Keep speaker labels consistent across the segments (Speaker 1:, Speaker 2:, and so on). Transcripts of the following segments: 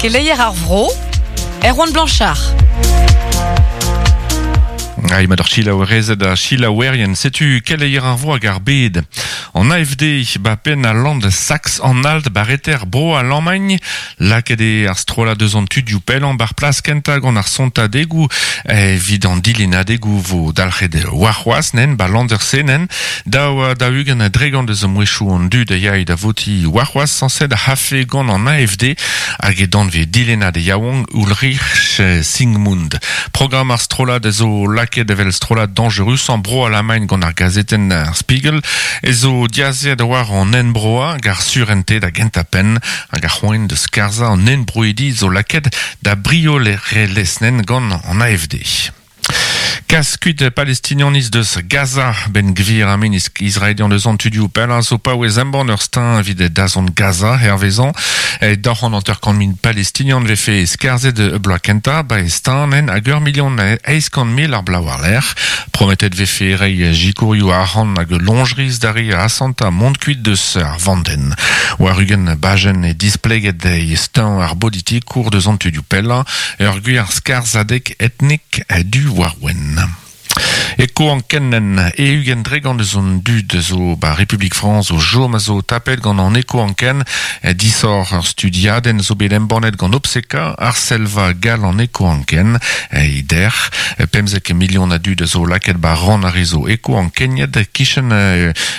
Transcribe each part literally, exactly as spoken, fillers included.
Speaker 1: Keleier ar vro, Erwan Blanchard.
Speaker 2: Ai ma d'ar chilaouerezed a chilaouerien, setu keleier ar vro hag ar bed. An A F D ba penn a land Sax an alt bareter bro a l'Allemagne, lakaet eo ar strollad deus an tudioù pellañ bar plas kentañ gant ar sontadegoù evit an dilennadegoù vo dalc'het warc'hoazh nen ba Landersenen, daou da ugent dregont deus mouezhioù an dud a yae da voti warc'hoazh sañset a c'hafe gant an A F D hag e danvez dilennad yaouank Ulrich Siegmund. Programm ar strollad zo lakaet evel strollad dangerus an bro Alamagn gant ar gazetenn ar Spiegel e zo diazet war an enbroa hag ar surente da gentañ-penn hag ar c'hoant deus skarzhañ an enbroidi zo lakaet da briolerelezh gant an A F D. Kas kuit palestinianiz deus Gaza ben gvir a meniz israelian deus an tudioù pellañ zo paouez embann ur steuñv evit dazont Gaza hervezañ e daou c'hant hanter-kant mil palestinian vefe skarzhet e bloaz kentañ ba e steuñv hag ur milion eizh kant mil ar bloaz war-lerc'h. Prometet vefe reiñ jikourioù arc'hant hag loñjriz da re asantañ mont kuit deus ar vandenn. War ugent bajenn e displeget e steuñv ar bolitikour deus an tudioù pellañ ur gwir skarzhadeg etnik du war wenn. Eko an kennen e ugent dregont eus an dud zo ba Republik Frañs o jom a zo tapet gant an eko an ken disor ur studiadenn zo bet embannet gant Opseka ar selva gal an eko an ken e der pemzek milion a dud zo lakaet ba ran ar rezo eko an kenyet kichen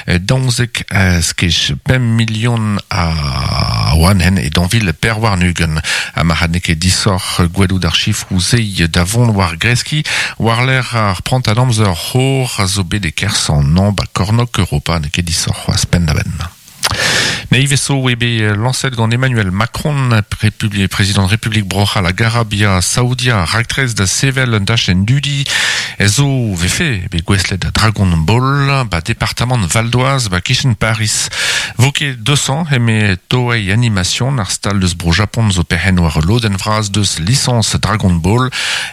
Speaker 2: daouzek skej pemp milion a oan hen e danvil perwar nugen a marc'had neket disor gwelout ar chifroù se da vont war greski war l'air ar prant a amzer c'hor a zo bet e kerzh an nañ ba kornôg Europa n'eo ket disoc'h c'hoazh penn-da-benn. Ne ivez zo eo bet lañset gant Emmanuel Macron, Republi-, prezident Republik Bro-C'hall hag Arabia Saoudia raktres da sevel un dachenn dudi zo vefe bet gouestlet da Dragon Ball ba departamant Val d'Oise ba kichen Paris. Vo ket deux cents eme Toei Animation ar stal deus bro Japon zo perc'henn war lodenn vras deus lisañs Dragon Ball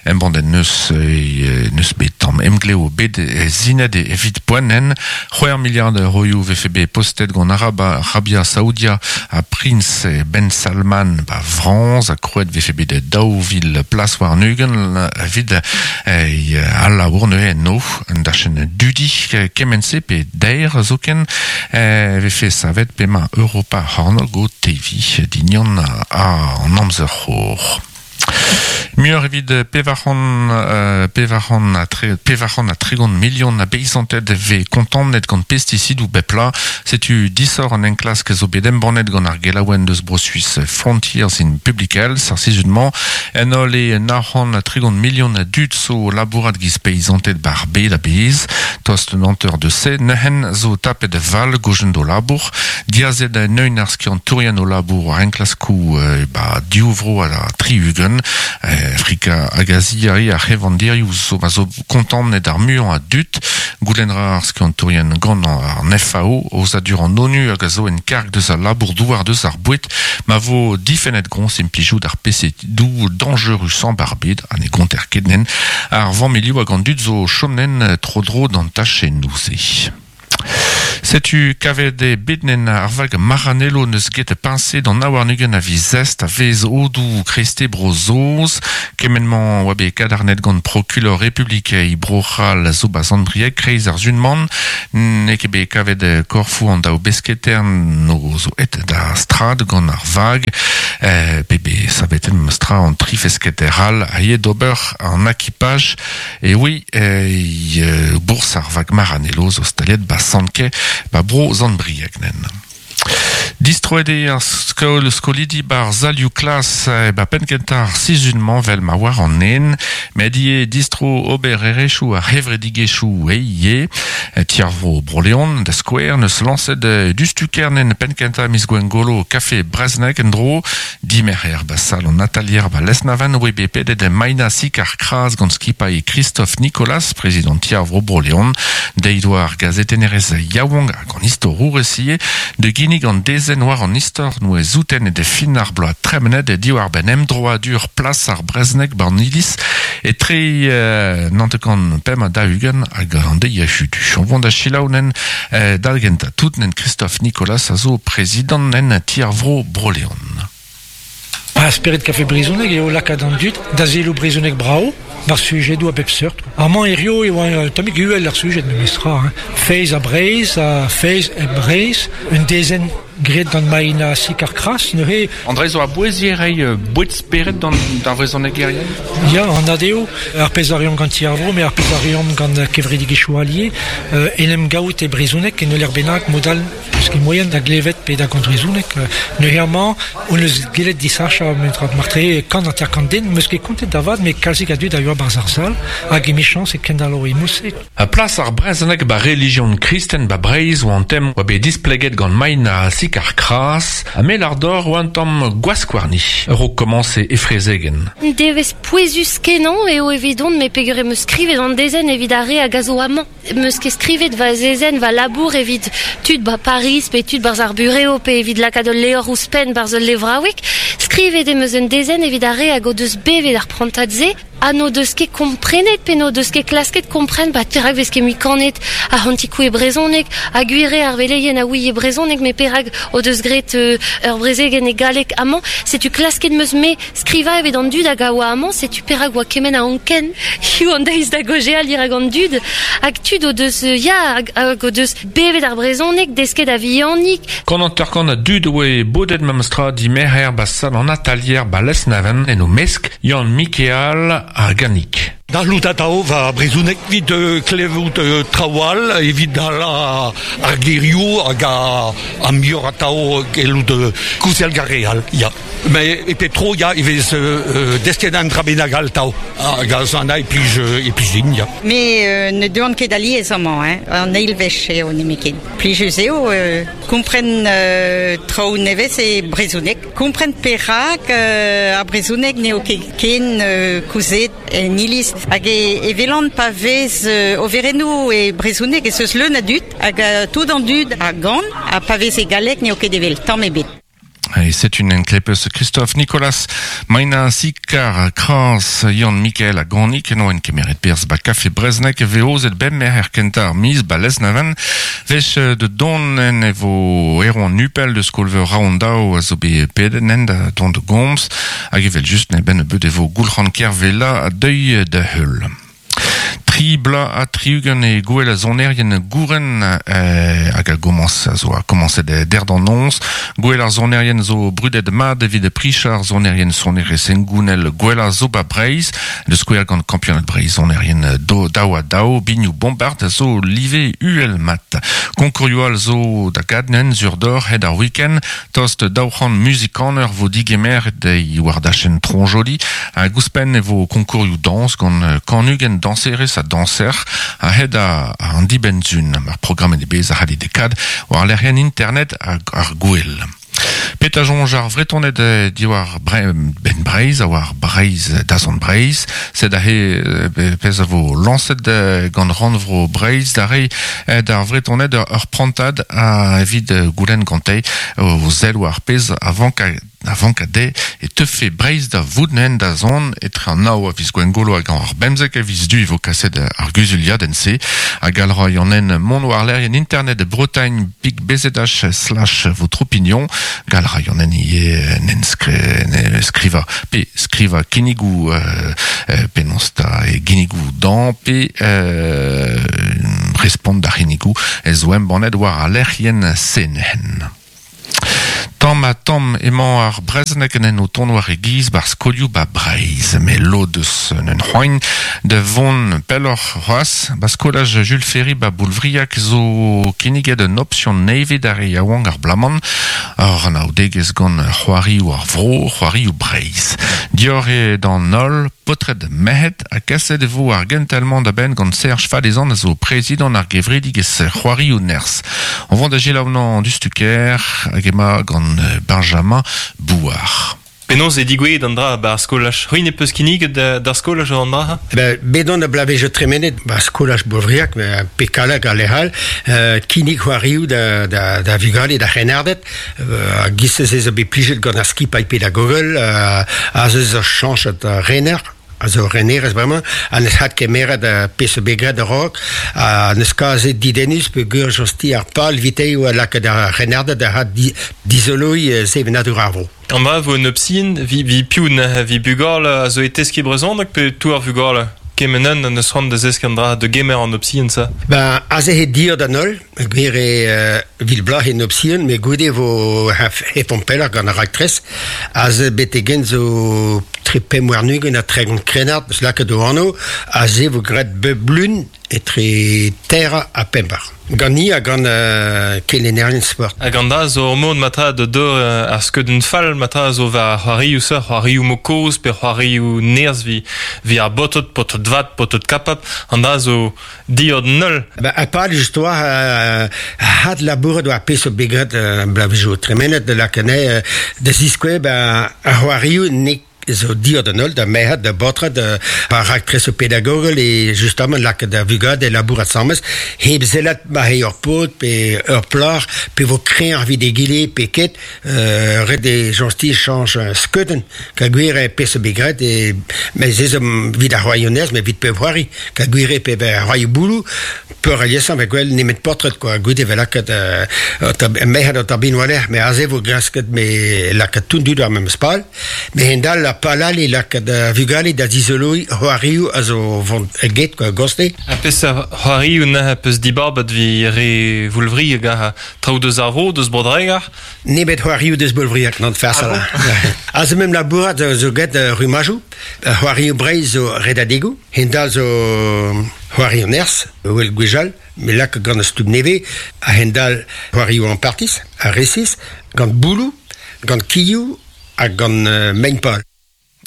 Speaker 2: embannet neus e, neus bet tamm emglev bet zinet evit poent c'hwec'h miliard euroioù vefe bet postet gant Araba, Arabia Saoudia a Prince Ben Salman ba Frañs a krouet vefe bet daou vil plas war nugen evit e, al labour neuze no un dachenn dudi kement-se pe deir zoken e, vefe savet pema Europa c'hornôg o tevi dignon a an amzer c'hor. Muioc'h evit pevar c'hant, euh, pevar c'hant ha tre, pevar c'hant ha tregont milion a beizanted vez kontamnet gant pesticidoù bep pla. Setu disoc'h an enklask zo bet embannet gant ar gelaouenn deus Bro-Suis Frontiers in Public Health ar sizhun-mañ. En holl e nav c'hant ha tregont milion a dud zo labourat giz peizanted bar bed a-bezh. Tost un hanter deus se neuhen zo tapet val gojen do labour. Diazet neun ar skiantourien o labour war enklaskoù, euh, ba div vro ha la tri-ugent. Euh, Afrika hag Azia ar c'hevandirioù zo ma zo kontamnet ar muiañ a dud. Goulenn ra ar skiantourien gant an F A O aozadur an ONU hag a zo en karg deus al labour douar deus ar boued ma vo difennet groñs implijout ar pesticidoù dañjerusañ bar bed ha ne gonter ket nen ar vammilioù hag an dud zo chomnen tro-dro d'an tachennoù-se. Setu kavet e bet nen ar vag Maranello neus get piñse d'an aouarn-ugent a viz zest a vez odou kreste bro-Saoz. Kement-mañ oa bet kadarnet gant prokulor Republik e Bro-C'hall zo ba Sant-Brieg kreiz ar zunman. N'eo ket bet kavet korfoù an daou besketern no zo et da strad gant ar vag. Eh, pe be savet em stra an tri fesketer all a ye d'ober an akipaj. E oui, eh, bourse ar vag Maranello zo staliet ba Sant-Ke ba bro Sant-Brieg nen. Distroet eo ar skol skolidi bar zalioù klas e ba penn kentañ ar sizhun-mañ vel ma war an en, met ivez distro ober erezhioù ar c'hevredigezhioù e Tiarvo Bro-Leon da skouer neus lañset dustukernen penn kentañ miz Gwengolo kafe Breznek en dro dimerc'her ba sal an atalier ba Lesnaven oe bet pedet Maina Sik ar Kras gant skipailh Christophe Nicolas, prezident Tiarvo Bro-Leon, deiz oa ar gazetennerez yaouank hag an istorour esie de ginnig an dezenn war an istor noe zouten e de fin ar bloaz tremenet e diwar ben emdroadur plas ar Breznek bar Nilis e tre euh, nantekan pemp ha daou-ugent hag an deiz a chudu. On vont da chilaounen euh, dalgenta tout nen Christophe Nicolas a zo prezident nen Tiarvro Bro-Leon.
Speaker 3: Ba spered kafe brezhoneg eo lakaat an dud da zelo brezhoneg brao, bar sujedoù a bep seurt. Amañ hirio e oa tammig uhel ar sujed memestra. Hein. Feiz a Breizh, a feiz e Breizh, un dezenn graet gant Maïna Sikar-Kras, neuze...
Speaker 2: André zo a bouezier reiñ boued spered d'an d'ar vrezhonegerien?
Speaker 3: Ya, an adeo, ar pezh a reomp gant ti ar vro, met ar pezh a reomp gant kevredigezhioù allié, euh, en em gaout e brezhoneg en ul bennak modal eus ket moien da glevet pe da gant brezhoneg. Neuze amañ, on eus gellet disachañ martre kant hanter kant den, meus ket kontet da vat, met kalzik a dud a yoa barzh ar sal, hag emichañs e kendalo e mouse.
Speaker 2: A plas ar brezhoneg ba relijion kristen ba Breizh oa an tem oa bet displeget gant Maïna Sikar-Kras, ha mel ar dor oa an tamm gwaskwarni, ur o komañse e frezegen.
Speaker 4: Devez pouezus kenañ eo evidon me peogwir em eus skrivet an dezenn evit ar re hag a zo amañ. Em eus ket skrivet va zezenn va labour evit tud ba Paris pe tud barzh ar bureo pe evit lakaat ul levr ouzhpenn barzh ul levraoueg. Skrivet em eus un dezenn evit ar re hag o deus bevet ar prantad-se ha n'o deus ket komprenet pe n'o deus ket klasket kompren ba perak vez ket mui kanet ar c'hantikou e brezhoneg ha gwir eo ar veleien a ouie brezhoneg met perak o deus graet euh, ur brezegenn e galleg amañ setu klasket 'm eus me skrivañ evit an dud hag a oa amañ setu perak oa kement a anken hiziv an deiz da gaozeal dirak an dud hag tud o deus ya hag, hag o deus bevet ar brezhoneg desket a vihanik.
Speaker 2: Kant hanter-kant a dud oe bodet memestra dimerc'her ba sal an atalier ba Lesneven en o mesk Yann Mikeal ar Ganik.
Speaker 5: Da lout atao va brezhoneg evit euh, klevout euh, traoù all, evit ala ar gerioù hag a, a muioc'h atao gellout euh, kouzel gar re all, ya. Mais e pep tro, ya, e vez euh, desket an dra bennak all tao. Hag a zo an e plij, e plij din, ya.
Speaker 6: Me euh, ne deuan ket alies amañ, hein, an eil wech eo nemetken. Plijus eo, euh, kompren euh, traoù nevez e brezhoneg. Kompren perak euh, ar brezhoneg n'eo ket ken euh, kouzet en iliz. Hag e, e velan pa vez euh, overennoù e brezhoneg ez eus leun a dud, hag uh, tout an dud a gan, ha pa vez e galleg n'eo ket evel tamm ebet.
Speaker 2: Et c'est une enklepes Christophe Nicolas Maïna Sikar Kras Yann Mikael a Ganik eno en kemeret perzh ba kafe Breznek veozet bemmer er kentañ ar miz ba Lesneven vech de don en evo Erwan Nupel de skolveur Raondao a zo bet pedet en da don de gomz hag evel just ne ben beut evo Goulc'han Kervella a deuil da heul. Tri bla ha tri-ugent e gouel a sonerien gouren eh, hag a gomañs a zo a komañset der d'an noz. Gouel ar sonerien zo brudet mat evit pricha ar sonerien sonerez engounel gouel a zo ba Breizh, de skouer gant kampionad Breizh sonerien do daou ha daou, biniou bombard a zo live uhel mat. Konkourioù all zo da gadnen zur d'or hed ar week-end, tost daou c'hant muzikaner vo digemer e war dachenn Tronjoli, hag ouzhpenn e vo konkourioù dañs gant kan-ugent dañserez ha danser a hed a, a an dibenn-zun. Ar programm e bez a c'hallit dekad war lec'hienn internet ar, ar gouel. Pet a soñj ar Vretoned diwar bre, ben Breizh a war Breizh dazont Breizh, sed aze pezh a vo lañset gant rannvro Breizh da reiñ d'ar Vretoned ur prantad a evit goulenn gante o sell war pezh a vank a vank a de e teufe Breizh da vout da zont etre an nav a viz Gwengolo hag ar bemzek a viz du e vo kaset ar guzuliadenn-se hag al ra en mont war lec'hienn internet Bretagne pik bzh slash votre opinion gal ra en ivez nen skri, skriva pe skriva kinnigoù euh, penaos ta e ginnigoù dan pe euh, respont d'ar c'hinnigoù ez zo embannet war ar lec'hienn se-nen. Tamm ha tamm emañ ar brezhoneg en o tont war e giz bar skolioù ba Breizh, met lod eus un c'hoant da vont pelloc'h c'hoazh ba skolaj Jules Ferry ba Boulvriag zo kinniget un option nevez d'ar re yaouank ar blaman ar anaoudegezh gant c'hoarioù ar vro, c'hoarioù Breizh. Dior eo d'an holl, paotred merc'hed ha kaset e vo ar gentel-mañ da benn gant Serge Falezan a zo prezidant ar gevredigezh c'hoarioù nerzh. On vont da selaou an dustuker hag ema gant Benjamin Bouard.
Speaker 7: Penaos e digouezhet an dra ba skolaj. C'hwi ne peus kinniget d'ar skolaj an dra?
Speaker 8: Ben, bet on a blavejo tremenet ba skolaj Boulvriag, pe Kallag ha lec'h all, euh, kinnig c'hoarioù da, da, da vugale da c'hrennarded, euh, giz ez eus bet plijet gant ar skipailh pedagogel, euh, a zeus ur chañchet rener, a zo renerez bremañ, ha neus hat kemeret uh, pezh bet graet a-raok, ha neus kazet didennus peogwir josti ar pal vitei oa lakaat ar c'hrennarded da hat di, dizoloiñ sevenadur ar vro.
Speaker 7: An dra vo un opsin, vi, vi piv vi bugal a zo e teski brezhoneg pe tout ar vugal kemenen an eus c'hoant da zesk an dra de gemer an opsin sa?
Speaker 8: Ben, aze he dir da nol, gwir e uh, vil blaz en opsin, me goude vo hefon peller gant ar raktres, aze betegen zo tre pemp warn-ugent ha tregont krennard, eus lakaet o anv, aze vo graet bep blun etre terra ha pembar. Gant ni ha gant uh, kelennerien sport.
Speaker 7: Hag an dra zo ur mod matra da dor uh, ar skeudenn fall matra zo war c'hoarioù sa, c'hoarioù mo kozh pe c'hoarioù nerzh vi, vi ar botot, potot vat, potot kapap, an dra zo diod null.
Speaker 8: Ba, a pal just oa uh, had labouret war pezh o bet graet uh, blavezioù tremenet de lakane uh, da ziskouez ba, ar c'hoarioù ne zo diod an holl, da merc'hed, da baotred, da par raktres o pedagogel e justement lakaat da vugad e labourat asambles, hep sellat ma eo ur paotr pe ur plac'h, pe vo kreñv evit egile pe ket, euh, ret e jañsti chañch skeudenn, ka gwir e pezh bet graet, e, mais ez evit ar c'hoarioù mais evit pep c'hoari, ka gwir e pe c'hoarioù bouloù, peur aliesañ ve gwell nemet paotred, quoi, goude ve lakaat euh, merc'hed an tabin war-lerc'h, mais aze vo grasket me lakaat tout dud ar memes pal, mais hendal ar palal e lakaat uh, vugale da zizoloi c'hoarioù a zo vont get, quoi, goste.
Speaker 7: Ha peseurt c'hoarioù neuze peus dibabet vi re Voulvriag ha traoù deus ar vro, deus Bro-Dreger?
Speaker 8: Nemet c'hoarioù deus Boulvriag, n'an farsal. Ah bon? Aze mem labourat zo, zo get uh, rumajoù, c'hoarioù Breizh zo redadegoù, hendal zo c'hoarioù nerzh, wel gwechall, me lak gant ar stumm nevez, a hendal c'hoarioù an partis, a resis, gant bouloù, gant kilhoù ha gant uh, mein-pal.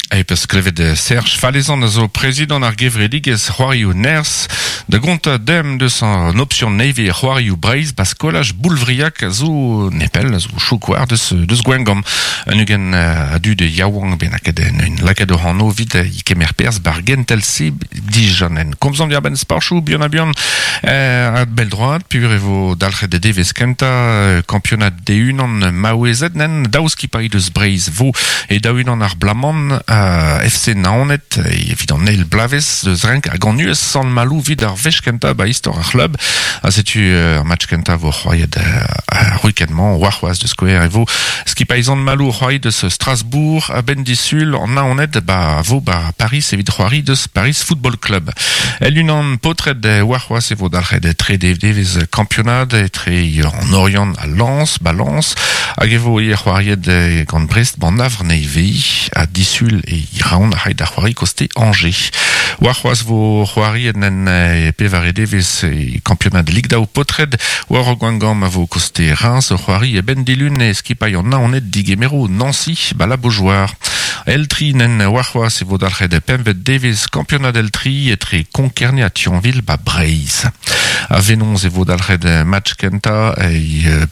Speaker 2: E peus klevet Serge Falezan a zo prezidant ar gevredigezh c'hoarioù nerzh da gontañ dem deus an option nevez c'hoarioù Breizh ba skolaj Boulvriag a zo nepell, a zo chouk war deus, deus Gwengamp. Un ugent a dud yaouank bennaket en un lakaet o anv evit i kemer perzh bar gentel se dijanen. Komzomp diarbenn sporchoù buan ha buan euh, a bell droad, pur e vo dalc'het de devezh kentañ kampionad D unan maouezed nen daou skipailh deus Breizh vo e daou unan ar blaman uh, F C Naoned evit an eil blavez deus renk hag an U S Sant-Malou evit ar wech kentañ ba istor ar c'hlub. Ha setu ar match kentañ vo c'hoariet ar week-end-mañ warc'hoazh deus skouer e vo skipailh Sant-Malou c'hoariet deus Strasbourg a benn disul an Naoned ba vo ba Paris evit c'hoari deus Paris Football Club. El unan paotred warc'hoazh e vo dalc'het trede devezh kampionad etre an Orient ha Lens, ba Lens hag e vo ivez c'hoariet gant Brest ban Havre nevez ha disul e Raon a c'hai da c'hoari koste Angers. Warc'hoazh vo c'hoariet en pevare devezh e kampionad Ligue daou paotred war Gwengamp a vo koste Reims c'hoari e ben dilun e skipailh an Naoned digemero Nancy ba la Beaujoire. El tri nen warc'hoazh e vo dalc'het pempvet devezh kampionad El tri etre Konkerne ha Thionville ba Breizh. A Venonz e vo dalc'het match kentañ e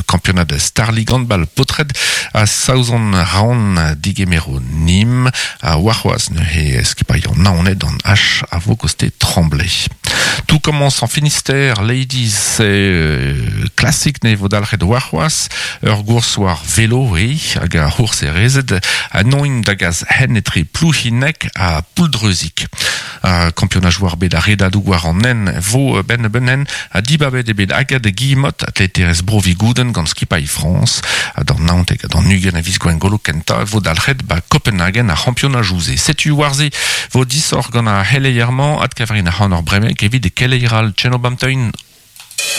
Speaker 2: kampionad Star League handball paotred a Saozon Raon digemero Nîmes a warc'hoazh neuze skipailh an Naoned an H a vo koste Tremblay. Tout commence en Finistère, ladies, c'est euh, classique ne vo dalc'het warc'hoazh, ur gours war vélo e hag ar c'hours e rezed a noin da gaz hen etre Plouhinec ha Pouldreuzic. A kampionaj war bet ar redadoù war an nen vo ben benen a dibabet e bet agad Guillemot atleterez bro Vigouden gant skipailh France ha d'an naontek ha d'an ugent a viz Gwengolo kentañ vo dalc'het ba Copenhagen ar c'hampionaj ouze. Setu warze vo disoc'h gant ar c'heleier-mañ adkaverin ar c'han ur bremek evit e keleier all Tcheno Bamteun